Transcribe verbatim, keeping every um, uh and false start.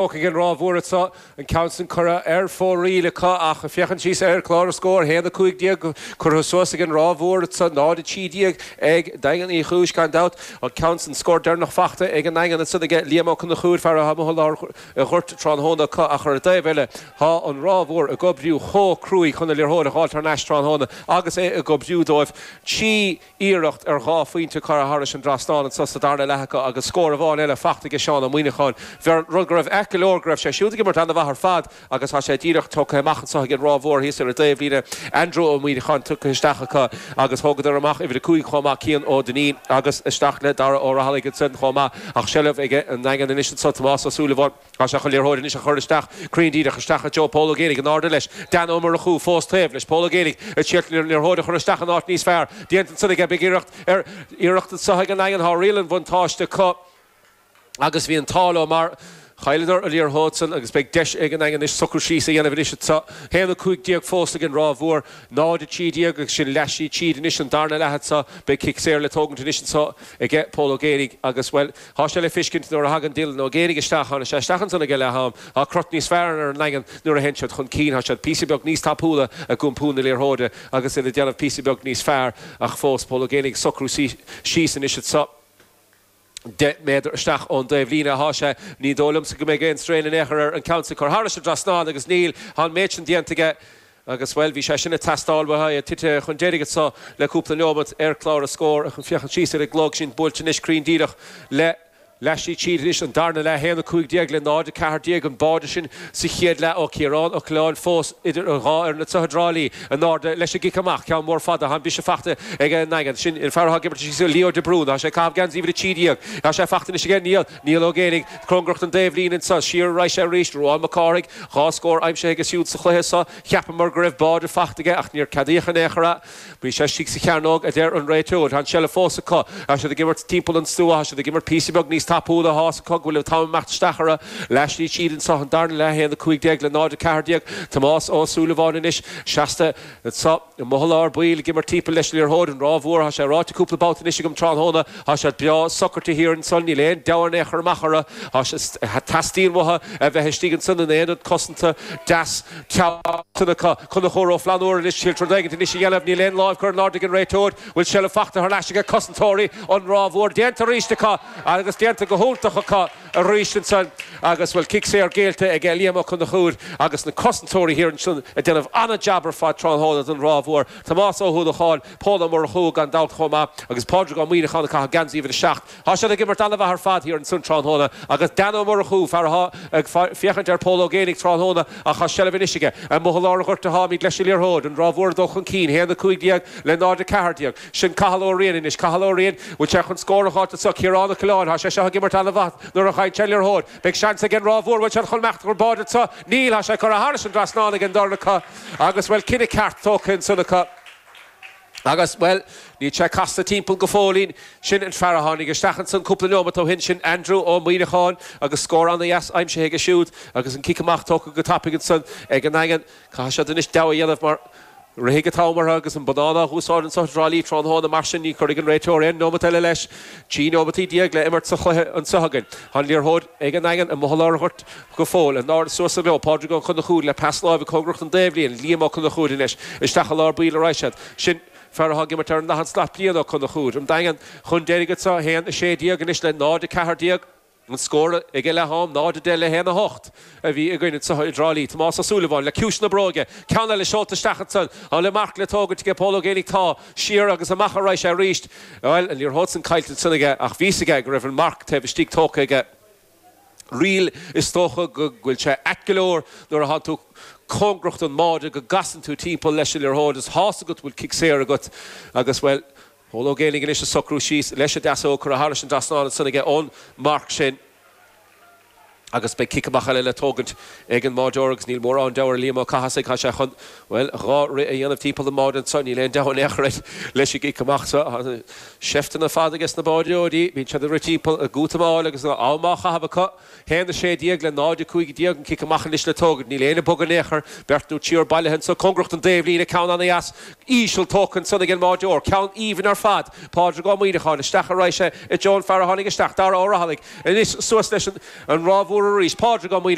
Ag an Ráth Mhór anseo an ceann sin curtha ar fóraoil acu ach féachaint síos ar chlár na scór haon a cúig déag curtha suas ag an Ráth Mhór anseo náid a trí déag ag Daingean Uí Chúis gan dabht an ceann sin scór deireanach faighte ag an nDaingean ansan aige Liam Ó Conchúir fear atá amuigh i lár an ghoirt tráthnóna acu ach ar an dtaobh eile tá an Ráth Mhór ag oibriú chomh cruaidh chun an liathróid a dh'fháilt thar n-ais tráthnóna agus é ag oibriú dóibh trí iarracht ar dhá phointe curtha thairis an dtrasnán anseo sa darna leath acu agus scór amháin eile faighte aige Seán Ó Muineacháin. Rud go raibh ait go leor go raibh sé siúd ag imirt an-mhaith ar fad agus tá sé díreach tugtha amach anseo ag an Ráth Mhór thíos ar an dtaobhlíne. Andrew Ó Muineacháin tugtha isteach acu agus thógadar amach uimhir a cúig chomh maith, Cian Ó Duinnín agus isteach le Dara Ó Rathallaigh ansin chomh maith ach seilbh ag an nDaingean anois anseo Tomás Ó Súilleabháin. Tá sé chun liathróid anois a chur isteach cruinn díreach isteach i dtreo Pól Ó Géibheannaigh in airde leis. Dan Ó Murchú fós taobh leis. Pól Ó Géibheannaigh ag triail an liathróid a chur isteach in áit níos fearr. Déanta ansan aige. Beidh iarracht ar iarracht anseo ag an nDaingean. Tá riail an bhuntáiste acu agus bhí an t-ádh leo mar chailleadar an liathróid san agus beidh deis ag an nDaingean anois socrú síos a dhéanamh anois anseo. Haon a cúig déag fós ag an Ráth Mhór, náid a trí déag agus sin leath tríd anois an darna leath anseo. Beidh cic saor le tógaint anois anseo aige Pól Ó Géibheannaigh agus, bhuel, tá sé le fiscint nuair a thagann Dylan Ó Géibheannaigh isteach, tháinig sé isteach ansan ag leath am, tá crot níos fearr ar an nDaingean nuair a théann siad chun cinn, tá siad píosa beag níos tapúla ag iompú na liathróide agus iad ag déanamh píosa beag níos fearr ach fós Pól Ó Géibheannaigh ag socrú síos anois anseo. Deich méadar isteach ón dtaobhlíne atá sé. Ní dóigh liomsa go mbeidh aon strain in aon chor air an ceann sin a chur thairis an dtrasnán agus níl. Tá an méid sin déanta aige agus, bhuel, bhí sé sin ag teastáil uathu. É tite chun deiridh anseo le cúpla neomat ar chlár an scóir. Ach féachaint síos ar an gclog sin buailte anois cruinn díreach le leath tríd anois an darna leath, haon a cúig déag le náid a ceathair déag, an báide sin sa chéad leath ó Chiarán Ó Coileáin fós idir an dhá fhoireann anseo i dTrá Lí. In airde leis an gcic amach, ceann mór fada, tá an biseach faighte ag an nDaingean. Sin an fear atá ag imirt síos, Leo de Brún. Tá sé ag caitheamh geansaí uimhir a trí déag. Tá sé faighte anois aige Niall, Niall Ó Géibheannaigh, cóngarach don dtaobhlíne anseo. Siar a raghaidh sé arís, Ruán Mac Cárthaigh, dhá scór aimsithe aige siúd sa chluiche seo. Cheapamar go raibh báide faighte aige ach níor ceadaíodh in aon chor é. Bhí sé istigh sa chearnóg, a deir an réiteoir. Tá an tseilbh fós acu. Tá siad ag imirt timpeall an stua. Tá siad ag imirt píosa beag níos tapúla. Tá's acu go bhfuil an t-am ag imeacht isteach orthu. Leath slí tríd anseo, an darna leath, a haon a cúig déag le náid a ceathair déag. Tomás Ó Súilleabháin anois seasta anseo amuigh i lár baill ag imirt timpeall leis an liathróid. An Ráth Mhór, tá sé ráite cúpla babhta anois agam tráthnóna, tá siad breá socraithe thiar ansan. Níl aon deabhadh in aon chor amach orthu. Tá sé, teastaíonn uathu a bheith istigh ansan in aonad cosanta deas teann acu. Conchúr Ó Flannúra anois, triail rud éigint anois a dhéanamh, níl aon láimh curtha in airde ag an réiteoir, bhfuil seilbh faighte thar n-ais ag cosantóirí an Ráth Mhór. Déanta arís acu agus déanta go hiontach acu arís ansan agus bhfuil cic saor géillte ag Liam Ó Conchúir agus na cosantóirí thiar ansan ag déanamh an-jab ar fad tráthnóna don Ráth Mhór. Tomás Ó hUallacháin, Pól Ó Murchú gan dabht chomh maith agus Pádraig Ó Muíneacháin ag caitheamh geansaí uimhir a seacht. Tá siad ag imirt an-mhaith ar fad thiar ansan tráthnóna agus Dan Ó Murchú, fear atá ag féachaint ar Pól Ó Géibheannaigh tráthnóna ach tá seilbh anois aige. Amuigh i lár an ghoirt atáimid leis an liathróid, an Ráth Mhór ag dul chun cinn, haon a cúig déag le náid a ceathair déag. Sin Cathal Ó Riain anois. Cathal Ó Riain, bhfuil sé chun scór a dh'fháilt anso? Ciarán Ó Coileáin, tá sé seo ag imirt an-mhaith nuair a fhaigheann sé an liathróid. Beidh seans ag an Ráth Mhór, bhfuil siad chun imeacht chun báide anso? Níl, tá sé curtha thairis an dtrasnán ag an dorn acu agus, bhuel, cinneadh ceart tógtha ansan acu. Agus, bhuel, níl sé casta timpeall go fóillín. Sin an fear a tháinig isteach ansan cúpla neomat ó shin, sin Andrew Ó Muíneacháin agus scór ana-dheas aimsithe aige siúd agus an cic amach tógtha go tapaidh ansan ag an nDaingean. Caithfidh siad anois deabhadh a dhéanamh mar rithfidh an t-am orthu agus an bonnán á dh'úsáid anso i dTrá Lí tráthnóna, mar sin ní chuirfidh an réiteoir aon neomat eile leis. Trí neomataí déag le imirt sa chluiche anso againn. Tá an liathróid ag an nDaingean amuigh i lár an ghoirt go fóill. In airde suas leo, Pádraig Ó Conchúir le pas láimhe cóngarach don dtaobhlíne, Liam Ó Conchúir anois isteach i lár baill a raghaidh siad. Sin fear atá ag imirt ar an leathán slat Brian Ó Conchúir. An Daingean chun deiridh anso, a haon a sé déag anois le náid a ceathair déag. An scór ag leath am, náid a deich le haon a hocht a bhí againn anso i dTrá Lí. Tomás Ó Súilleabháin le ciumhais na bróige. Ceann eile seolta isteach ansan. An bhfuil marc le tógaint aige Pól Ó Géibheannaigh? Tá. Siar agus amach a raghaidh sé arís. Bhuel, an liathróid san caillte ansan aige ach bhí's aige go raibh an marc taobh istigh tógtha aige. Riail, is dócha go bhfuil sé ait go leor nuair atánn tú cóngarach don mbáide go gcasann tú timpeall leis an liathróid is tá's agat go bhfuil cic saor agat agus, bhuel, Pól Ó Géibheannaigh anois ag socrú síos leis an deasóg curtha thairis an dtrasnán ansan aige ón marc sin agus beidh cic amach eile le tógaint ag an mbáideoir agus níl mórán deabhaidh ar Liam Ó Cathasaigh, tá sé chun, bhuel, dhá rith a dhéanamh timpeall an mbáide anso, níl aon deabhadh in aon chor air leis an gcic amach seo. Tá seifteanna fada aige sna báideoirí, bíonn siad ag rith timpeall ag útamáil agus am á chaitheamh acu. Haon a sé déag le náid a cúig déag, an cic amach anois le tógaint. Níl éinne ag bogadh in aon chor. Beirt nó triúr bailithe anso cóngarach don dtaobhlíne. Ceann ana-dheas íseal tógtha ansan ag an mbáideoir. Ceann aoibhinn ar fad. Pádraig Ó Muíneacháin, isteach a raghaidh sé i dtreo an fear a tháinig isteach, Dara Ó Rathallaigh. Anois suas leis an Ráth Mhór Mhór arís Pádraig Ó